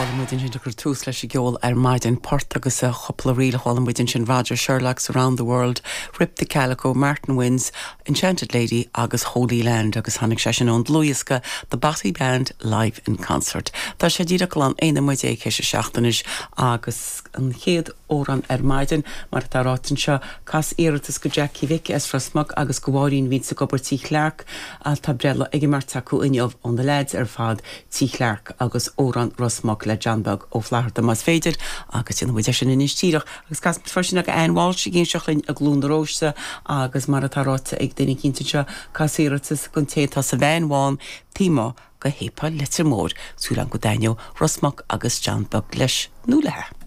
Chuala muid ansin ag cur tús leis an gceol ar maidin, port agus cúpla ríl a chuala muid ansin, Roger Sherlock's Around the World, Rip the Calico, Martin Wynne's Enchanted Lady agus Holy Land agus tháinig sé sin ón dlúthdhiosca The Bothy Band Live in Concert. Tá sé díreach glan 11 nóiméad théis a 7 anois agus an chéad amhrán ar maidin, mar atá ráite anseo, cas iarratas go Jackie Mhic as Ros Muc agus go Mháirín a bhíonns ag obair Tí Chlarke. Tá breithlá ag an mbeirt acu inniu ó na leaids ar fad Tí Chlarke agus amhrán Ros Muc le John Beag Ó Flatharta más féidir agus déanfaidh muid é sin anois díreach agus casfaidh muid freisin ag Ann Walsh ag éisteacht linn i gCluain na Róiste agus mar atá ráite ag duine eicínt anseo cas iarratas don té atá sa veain bhán taobh amuigh de shéipéal Leitir Móir, súil agam go dtaitneoidh Ros Muc agus John Beag leis nó léi.